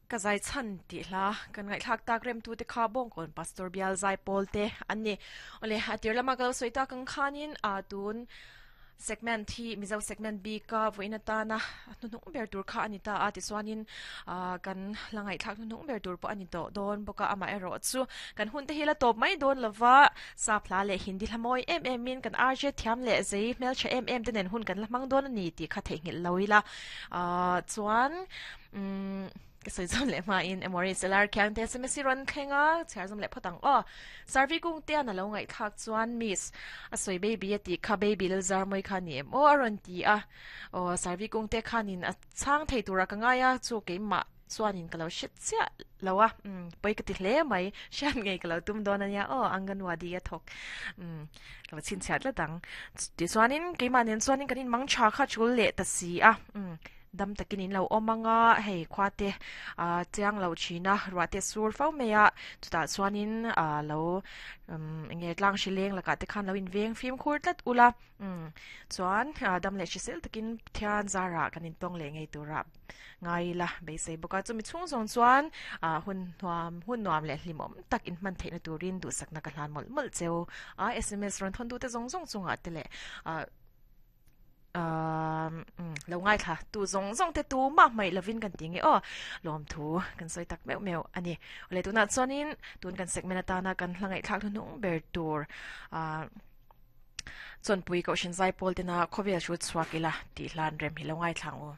Ka zai chhan tih hla kan ngaihthlak tak remtute kha Bawngkawn Pastor Bial Zaipawl te an ni. Awle, a tir lama ka lo sawi tak ang khanin a tun segment hi Mizo segment bik a vawiin atana hnuhnung ber tur kha a ni ta a, tichuanin kan hla ngaihthlak hnuhnung ber tur pawh a ni tawh dawn bawk a, amaherawh chu kan hun te hi la tawp mai dawn lova Sap hla leh Hindi hla mawi em em in kan RJ thiam leh zei hmeltha em em te nen hun kan la hmang dawn a ni tih kha theihnghilh lo ila chuan Umm ka sawi zawm leh hmain Emory Selar khiang te sms hi rawn thleng a, chhiar zawm leh phawt ang aw. Sarvi kung te an a lo ngaihthlak chuan Miss a sawi baby a tih kha baby Lalzarmawi kha ni em aw a rawn ti a. Aw Sarvi kung te khanin a chhang thei tura ka ngai a, chu keimah chuanin ka lo hre chiah lo a, umm pawi ka ti hle mai, hriat ngei ka lo tum dawn ania aw Anganwadi a thawk umm ka va chhinchhiah tlat ang. Tichuanin keimah nen chuanin kan inmang tha kha tul leh ta si a, umm. Dam takin in lo awm ang a, hei khua te ah chiang lo thin a, ruah te sur fo mai a, chutah chuanin ah lo umm eng nge tlang hri leng lakah te khan lo inveng fimkhur tlat ula, umm chuan ah dam leh hrisel takin Pathian zarah kan intawng leh ngei tura ngai ila beisei bawk a, chumi chhung zawng chuan ah hun nuam hun nuam leh hlimawm tak inhman theihna turin duhsakna ka hlan mawlh mawlh cheu a, sms rawn thawn duhte zawng zawng chungah te leh ah. lo ngaithla tu zawng zawng te tu mah hmaih lovin kan ti nge aw lawmthu kan sawi tak meuh meuh a ni awle tunah chuanin tun kan segment atana kan hla ngaihthlak hnuhnung ber tur ah chawnpui kohhran zaipawl tena khawvel hrut chhuak ila tih hlan rem hi lo ngaithla ang u.